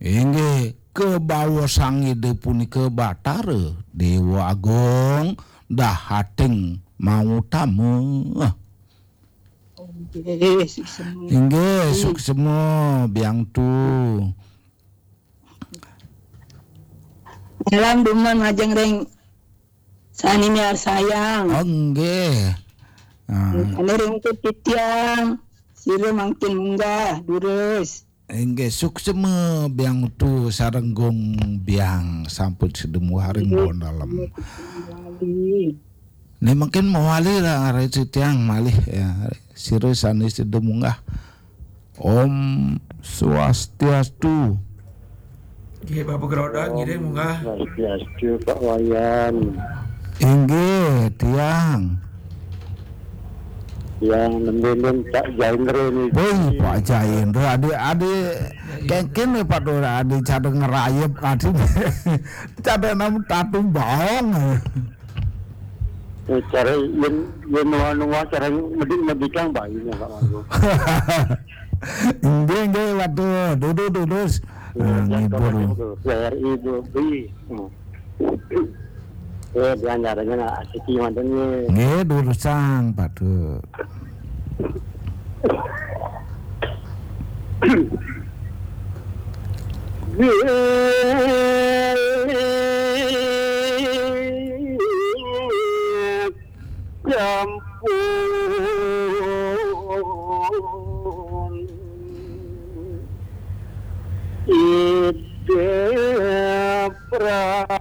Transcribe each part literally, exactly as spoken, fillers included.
Inggih, kabaosang Ida punika Batara Dewa Agung dahating mangutama. Inggih, suksema. Inggih, suksema biang tu. Salam dumun majeng ring sane miarsayang. Oh, nggih. Ah. Ane ring titiang, sira mangkin munggah, durus. Inggih, suksema biang tu sareng Gung Biang sampun sida munggah ring bawah dalem. Nggih. Ni mungkin mawali lah, ari titiang malih ya. Sira sane sida munggah. Om Swastiastu. Nggih, Bapak Geroda, ngiring munggah. Swastiastu, Pak Wayan. Inggih, tiang. Yang nembendeng Pak Jaindra ni. Woi, Pak Jaindra, adik-adik kengken ni Pak Dora, adik cara ngerayep, adik cara nam tatu baong. Eh, cara yen, yen nuwa-nuwa cara medik-medikang bayi nya, Pak Wayan. Inggih, inggih, waduh, duduk, duduk. Ah, ngibur. P R I Bu Bi. Hmm. Eh, diantaranya nak asiki manten ni. Nggih, durusang, patut. Nggih. Sampun Ida Prabu.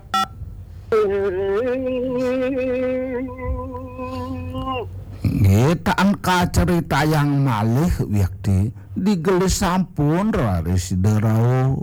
Nggih, taen kacaritayang malih, wiakti. Digelis sampun raris Ida rauh.